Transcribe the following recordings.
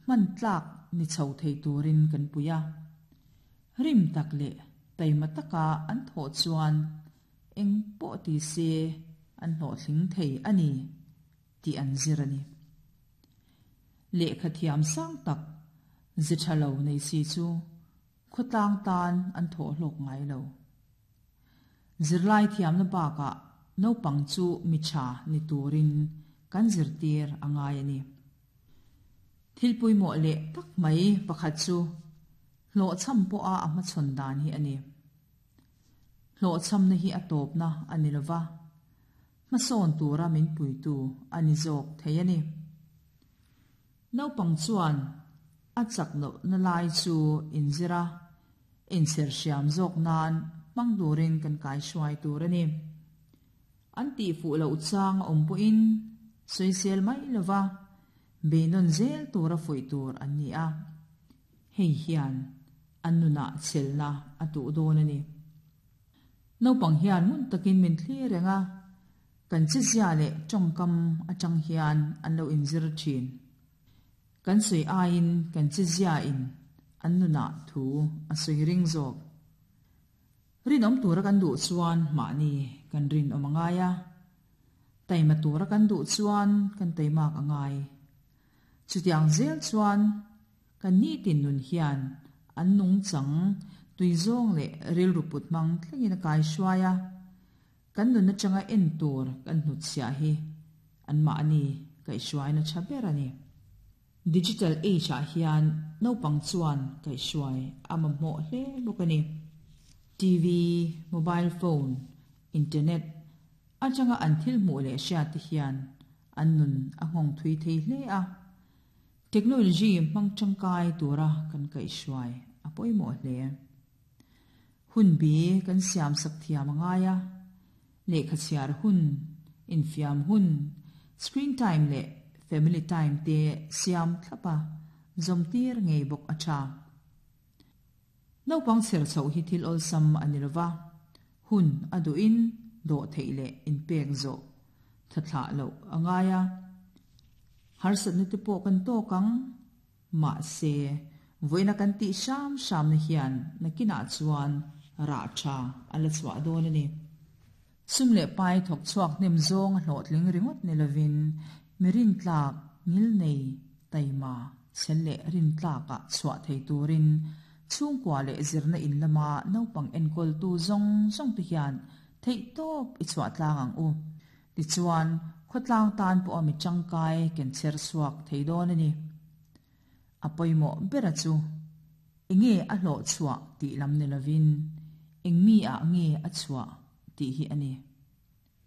Hman tlak ni chho thei turin kan pui a. Rim tak leh taima taka an thawh chuan eng pawh ti se an hlawhtling thei a ni tih an zir a ni. Lehkha thiam sang tak ze tha lo nei si chu khawtlang tan an thawh hlawk ngai lo. Zirlai thiamna bakah naupang chu mi tha ni turin kan zirtir a ngai a ni. Thil pawimawh leh tak mai pakhat chu hlawhchham pawha a hmachhawn dan hi a ni. Hlawhchhamna hi a tawpna a ni lova, hmasawn tura min puitu a ni zawk thei a ni. Naupang chuan a chak lohna lai chu inzir a, inchher hriam zawk nan hmang turin kan kaihruai tur a ni. An tih fuh loh chang a awm pawhin sawisel mai lova beinawn zel tura fuih tur an ni a, hei hian an nunah chhelna a tuh dawn a ni. Naupang hian ngun takin min thlir reng a, kan chezia leh tawngkam atang hian an lo inzir thin. Kan sawi aiin kan cheziain an nunah thu a sawi ring zawk. Rinawm tura kan duh chuan mahni kan rinawm a ngai a, taima tura kan duh chuan kan taimak a ngai. Chutiang zel chuan kan nitin nun hian an nungchang tuizawng leh rilru put hmang thlengin a kaihruai a, kan nun atanga en tur kan hnutchhiah hi anmahni kaihhruaina tha ber a ni. Digital age ah hian naupang chuan kaihhruai a mamawh hle bawk a ni. TV, mobile phone, internet atanga an thil hmuh leh hriat te hian an nun a nghawng thui thei hle a. Technology hmang tangkai tura kan kaihhruai a pawimawh hle. Hun bi kan siam sak thiam a ngai a, lehkha chhiar hun, infiam hun, screen time leh family time te siam thlap a, zawmtir ngei bawk a tha. Naupang chher chhoh hi thil awlsam a ni lova, hun a duhin dawh theih leh inpek zawh tha thlah loh a ngai a, harsatna te pawh kan tawk ang. Mahse, vawiina kan tih hram hramna hian nakinah chuan rah tha a la chhuah dawn a ni. Sum leh pai thawk chhuak hnem zawng a hlawhtling ringawt ni lovin mi rintlak ngil nei taima chhel leh rintlakah chhuah thei turin chhungkua leh zirna in lama naupang enkawltu zawng zawng te hian theihtawp i chhuah tlang ang u. Tichuan, khawtlang tan pawha mi tangkai ken chher chhuak thei dawn a ni. A pawimawh bera chu enge a hlawh chhuah tih lam ni lovin eng mi ah nge a chhuah tih hi a ni.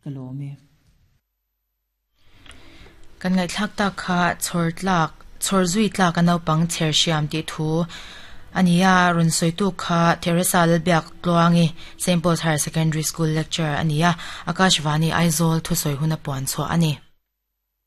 Ka lawm e. Kan ngaihthlak tak kha chhawr tlak, chhawr zui tlak a naupang chher hriam tih thu a ni a, rawn sawitu kha Theresa Lalbiak Tluangi, Saint Paul's Higher Secondary School lecturer a ni a, Akashvani Aizawl thusawi huna puan chhuah a ni.